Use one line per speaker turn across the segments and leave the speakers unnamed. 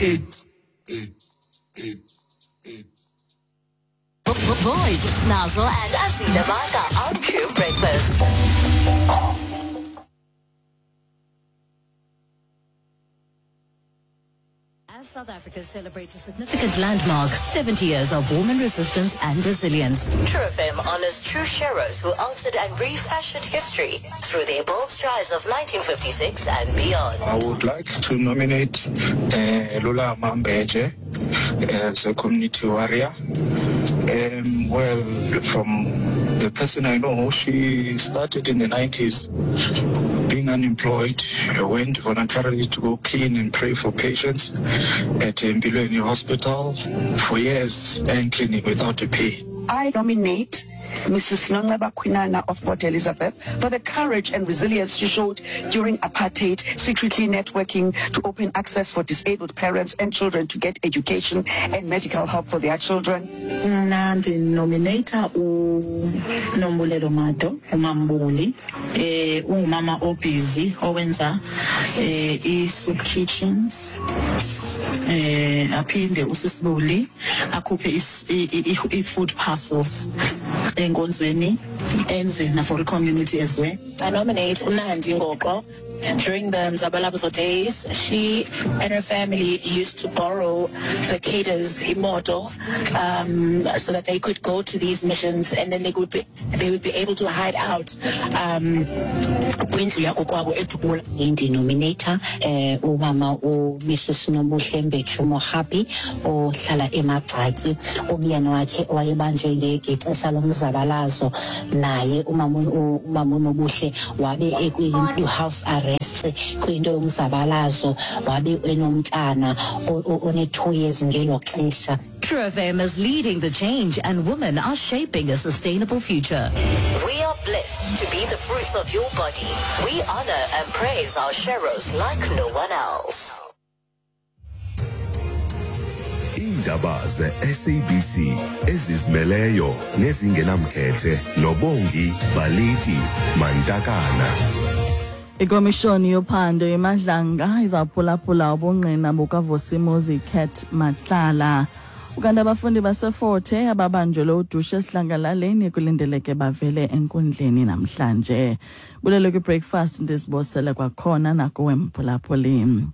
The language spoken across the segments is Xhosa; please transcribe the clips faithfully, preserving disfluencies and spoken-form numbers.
eight eight eight eight.
Boys, Snazzle and Azila Maka on True Breakfast. As South Africa celebrates a significant landmark, seventy years of woman resistance and resilience. True F M honors true sheroes who altered and refashioned history through their bold strides of nineteen fifty-six and beyond.
I would like to nominate uh, Lula Mambeje as a community warrior. Um, well, from the person I know, she started in the nineties being unemployed, went voluntarily to go clean and pray for patients at Mbilweni Hospital for years and cleaning without a pay.
I nominate Missus Nonceba Kwinana of Port Elizabeth for the courage and resilience she showed during apartheid, secretly networking to open access for disabled parents and children to get education and medical help for their children.
Mna ndinominata uNombulelo Mado, uMambuli, eh ungumama obusy owenza eh i-soup kitchens, eh aphinde usisibuli akhuphe i-food parcels enkonzweni enze na for the community as well.
I nominate Unandi Ngoqo. During the Mzabalazo days, she and her family used to borrow the cadres imoto, um, so that they could go to these missions, and then they would be they would be able to hide out. Um, kwindlu yakokwabo eDubula.
Ndinominata eh umama u Missus Nobuhle Mbetshu Mohapi ohlala eMagxaki, umyeni wakhe wayebanjwe ngexesha lomzabalazo, naye umama umama uNobuhle wabe ekwi house arrest kwinto yomzabalazo, wabe enomntana one two years ngelo xesha.
True F M is leading the change, and women are shaping a sustainable future. We are blessed to be the fruits of your body. We honor and praise our sheroes like no one else.
Indaba ze-S A B C ezizimeleyo nezingenamkhethe noBongi Baliti Mantakana.
Ikomishoni yophando eMadlanga izaphulaphula ubungqina bukaVusimuzi Cat Matlala. Ukanti abafundi baseForte ababanjelwe udushe esihlangalaleni kulindeleke bavele enkundleni namhlanje. Bulele kwi-breakfast ndizibosele kwakhona nakuwe mphulaphuli.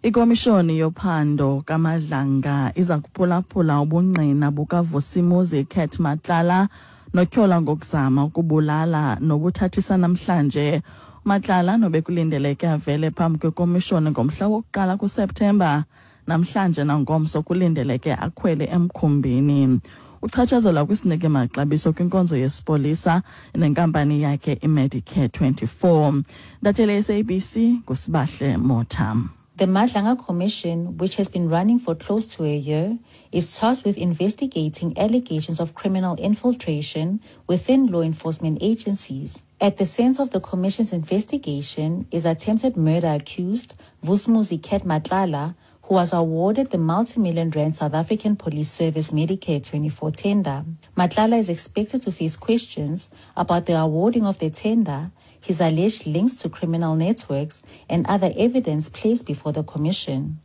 Ikomishoni yophando kaMadlanga iza kuphulaphula ubungqina bukaVusimuzi Cat Matlala notyholwa ngokuzama ukubulala nobuthathisa namhlanje. Matlala nobekulindeleke avele phambi kwekomishoni ngomhla wokuqala kuSeptemba, namhlanje nangomso kulindeleke akhwele emkhumbini. Uchatshazelwa kwisinike maxabiso kwinkonzo yesipolisa nenkampani yakhe iMedicare twenty-four. Ntatheli S A B C nguSibahle Motha.
The Madlanga Commission, which has been running for close to a year, is tasked with investigating allegations of criminal infiltration within law enforcement agencies. At the center of the commission's investigation is attempted murder accused Vusimuzi Cat Matlala, who was awarded the multi-million rand South African Police Service Medicare twenty-four tender. Matlala is expected to face questions about the awarding of the tender, his alleged links to criminal networks, and other evidence placed before the commission.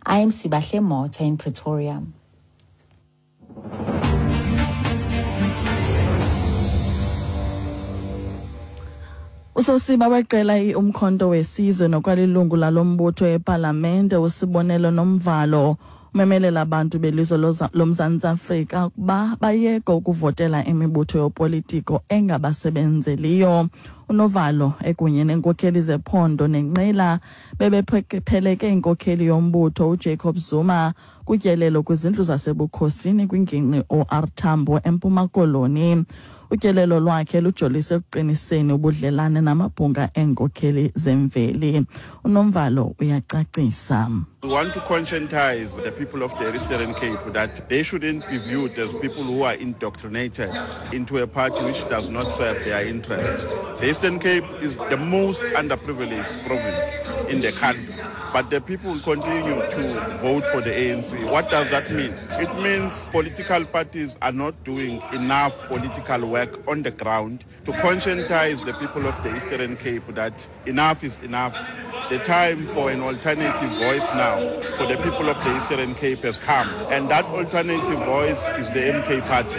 I am Sibahle Motha in Pretoria.
Usosiba weqela iUmkhonto weSizwe nokwalilungu lalombutho ePalamente uSibonelo Nomvalo umemelela abantu belizwe loMzantsi Afrika ukuba bayeke ukuvotela imibutho yopolitiko engabasebenzeliyo. UNovalo ekunye nenkokheli zephondo nenqila bebepheleke inkokheli yombutho uJacob Zuma kutyelelo kwizindlu zasebukhosini kwingingqi O R Tambo eMpuma Koloni. Utyelelo lwakhe lujolise ekuqiniseni ubudlelane namabhunga eenkokheli zemveli. UNomvalo uyacacisa.
We want to conscientize the people of the Eastern Cape that they shouldn't be viewed as people who are indoctrinated into a party which does not serve their interests. The Eastern Cape is the most underprivileged province in the country, but the people continue to vote for the A N C. What does that mean? It means political parties are not doing enough political work on the ground to conscientize the people of the Eastern Cape that enough is enough. The time for an alternative voice now for the people of the Eastern Cape has come, and that alternative voice is the M K Party.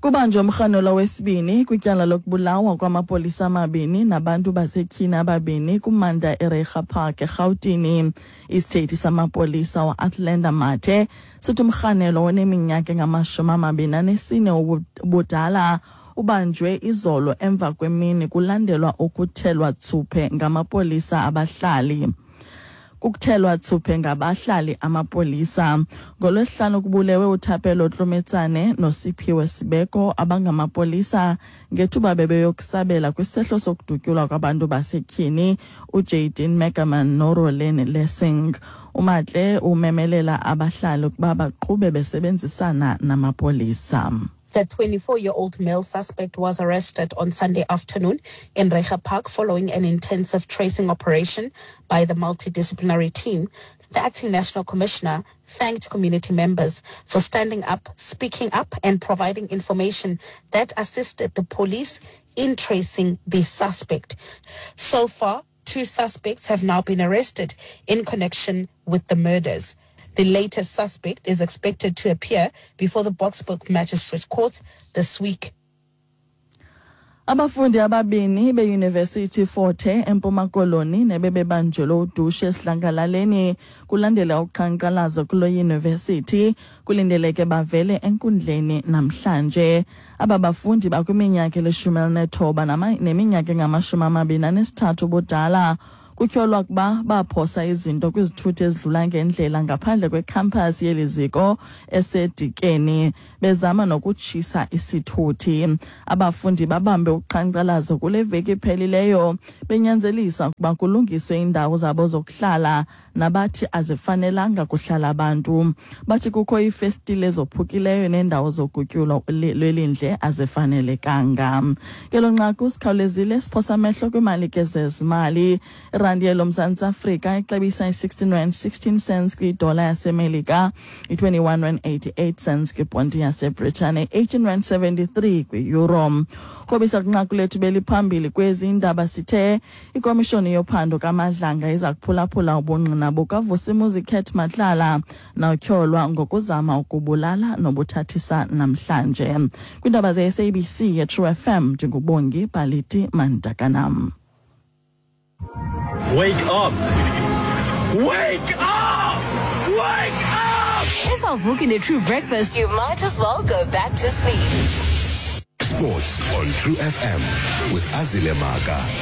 Kubanjwe umrhanelwa wesibini kwityala lokubulawa kwamapolisa amabini nabantu basetyhini ababini kumanda eReiger Park eRhawutini. Isithethi samapolisa u-Athlenda Mathe sithi umrhanelwa oneminyaka engamashumi amabini anesine ubudala ubanjwe izolo emva kwemini kulandelwa ukuthelwa thuphe ngamapolisa abahlali. Kukuthelwa thuphe ngabahlali amapolisa. NgolwesiHlanu kubulewe uThapelo Tlometsane noSiphiwe Sibeko abangamapolisa ngethuba bebeyokusabela kwisehlo sokudutyulwa kwabantu basetyhini uJaden Megaman noRolene Lessing. UMatle umemelela abahlali ukuba baqhube besebenzisana namapolisa.
The twenty-four-year-old male suspect was arrested on Sunday afternoon in Reiger Park following an intensive tracing operation by the multidisciplinary team. The acting national commissioner thanked community members for standing up, speaking up, and providing information that assisted the police in tracing the suspect. So far, two suspects have now been arrested in connection with the murders. The latest suspect is expected to appear before the Boksburg Magistrate Court this week.
Abafundi ababini beYunivesithi Forte eMpuma Koloni nebebebanjelwe udushe esidlangalaleni kulandela uqhankqalazo kulo yunivesithi kulindeleke bavele enkundleni namhlanje. Aba bafundi bakwiminyaka elishumi elinethoba neminyaka engamashumi amabini anesithathu ubudala. Kutyholwa ukuba baphosa izinto kwizithuthi ezidlula ngendlela ngaphandle kwekhampasi yeli ziko eseDikeni bezama nokutshisa isithuthi. Abafundi babambe uqhankqalazo kule veki iphelileyo benyanzelisa ukuba kulungiswe iindawo zabo zokuhlala nabathi azifanelanga kuhlala abantu. Bathi kukho iifestile ezophukileyo neendawo zogutyulo lwelindle azifanelekanga. Ngelo nqaku sikhawulezile siphosa amehlo kwimali ke zezimali. Irandi yoMzantsi Afrika ixabisa i-sixteen rand sixteen cents kwidola yaseMelika, i-twenty-one rand eighty-eight cents kwibhondi yaseBritane, eighteen rand seventy-three kwi-euro. Krobisa kwinqaku lethu beliphambili kwezi indaba sithe ikomishoni yophando kaMadlanga iza kuphulaphula ubungqina bukaVusimuzi Cat Matlala nawutyholwa ngokuzama ukubulala nobuthathisa namhlanje. Kwiindaba ze-S A B C ye-True F M ndinguBongi Baliti Mandakanam.
Wake up! Wake up! Wake up!
If I'm booking a true breakfast, you might as well go back to sleep.
Sports on True F M with Azile Maka.